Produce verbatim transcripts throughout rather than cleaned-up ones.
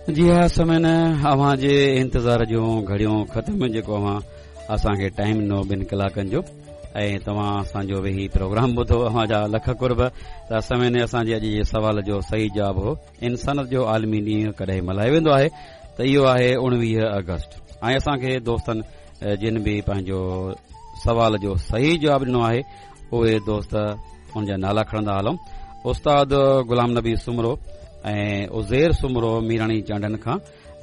जी हा सामीन, अव्हां जे इंतज़ार जूं घड़ियूं ख़तम। जेको अव्हां असांखे टाइम ॾिनो ॿिनि कलाकनि जो ऐं तव्हां असांजो वेही प्रोग्राम ॿुधो, अव्हां जा लख कुर्ब। त सामीन, असांजे अॼु जे सवाल जो सही जवाब हो इंसानियत जो आलमी ॾींहुं कॾहिं मल्हायो वेंदो आहे, त इहो आहे उणिवीह अगस्त। ऐं असांखे दोस्तनि जिन बि पंहिंजो सवाल जो सही जवाब ॾिनो आहे, उहे दोस्त उन जा नाला खणंदा हलूं। उस्ताद गुलाम नबी सुमरो ऐं उज़ेर सुमरो मीराणी चांडन खां,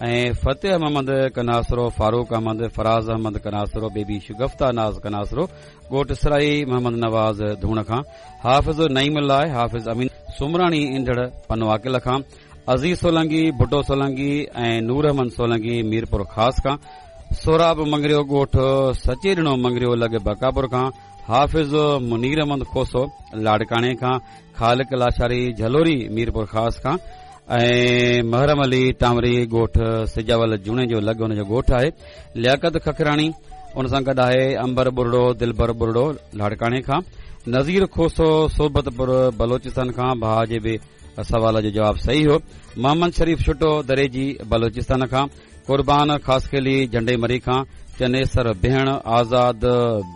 ऐं फतेह मोहम्मद कनासरो, फारूक अहमद, फराज़ अहमद कनासरो, बेबी शुगफ्ता नाज़ कनासरो, ॻोठ सराई मोहम्मद नवाज़ धूण खां, हाफ़िज़ नईमुल्लाह, हाफ़िज़ अमीन सुमराणी ईंदड़ पनवाकिल खां, अज़ीज़ सोलंगी, भुटो सोलंगी ऐं नूर अहमद सोलंगी मीरपुर ख़ास खां, सोराब मंगरियो ॻोठ सचेॾिणो मंगरियो लॻ बकापुर खां, हाफ़िज़ मुनीर अहमद खोसो लाड़काणे खां, खालिक लाशारी झलोरी मीरपुर ख़ास खां, ऐं महरम अली टामरी ॻोठ सिजावल जुणेजो लॻ हुनजो ॻोठ आहे, लियाकत खखराणी उन सां गॾु आहे अंबर बुरड़ो, दिलबर बुरड़ो लाड़काणे खां, नज़ीर खोसो सोबतपुर बलोचिस्तान खां, भाउ जे बि सवाल जो जवाब सही हो, मोहम्मद शरीफ छुटो दरेजी बलोचिस्तान खां, कुर्बान खासखेली झंडे मरी खां, चनेसर बेहण, आज़ाद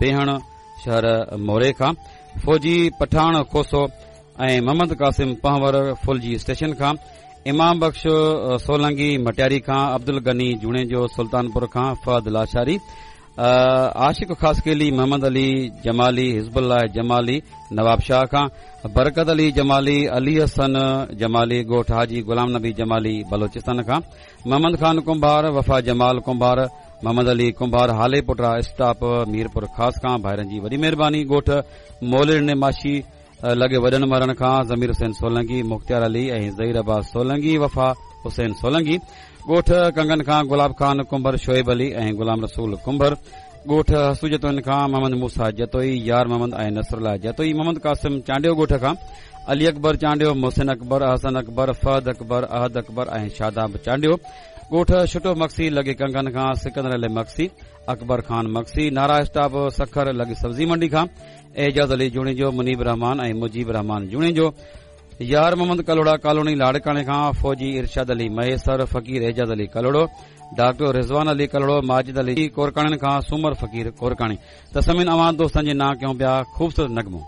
बेहण शहर मोरे खां, फौजी पठाण खोसो ऐं मोहम्मद कासिम पहवर फुलजी स्टेशन खां, इमाम बख्श सोलंगी मटियारी खां, अब्दुल गनी जुणेजो सुल्तानपुर खां, फहद लाशारी, आशिक खासकेली, मोहम्मद अली जमाली, हिज़बुल्लाह जमाली नवाब शाह खां, बरकत अली जमाली, अली हसन जमाली ॻोठ हाजी गुलाम नबी जमाली बलोचिस्तान खां, मोहम्मद खान कुंभार, वफ़ा जमाल कुंभार, मोहम्मद अली कुंभार हाले पुटरा स्टाप मीरपुर ख़ास खां। भाइरनि जी वॾी महिरबानी। ॻोठ मोलिर माशी लॻे वॾनि मरण खां ज़मीर हुसैन सोलंगी, मुख्तियार अली ऐं ज़हीर अब्बास सोलंगी, वफ़ा हुसैन सोलंगी। ॻोठ कंगन खां गुलाब खान कुंभर, शोएब अली ऐं गुलाम रसूल कुंभर। ॻोठ हसू जतोइन खां मोहम्मद मूसा जतोई, यार मोहम्मद ऐं नसरुल्लाह जतोई। मोहम्मद कासिम चांडियो ॻोठ खां अली अकबर चांडियो, मोहसिन अकबर, हसन अकबर, फहद अकबर, अहद अकबर ऐं शादाब चांडियो। ॻोठ छुटो मक्सी लॻे कंगन खां सिकंदर अली मक्सी, अकबर खान मक्सी। नारा स्टाप सखर लॻे सब्ज़ी मंडी खां एजाज़ अली जुणेजो, मुनीब रहमान ऐं मुजीब रहमान जुणेजो। यार मोहम्मद कलोड़ा कॉलोनी लाड़काणे खां फौजी इरशाद अली महेसर, फ़क़ीर एजाज़ अली कलोड़ो, डॉक्टर रिज़वान अली कलोड़ो, माजिद अली कोरकाणनि खां सूमर फ़क़ीर कोरकाणी। त समिन अव्हां दोस्तनि जे नां कयूं पिया खूबसूरत नगमो।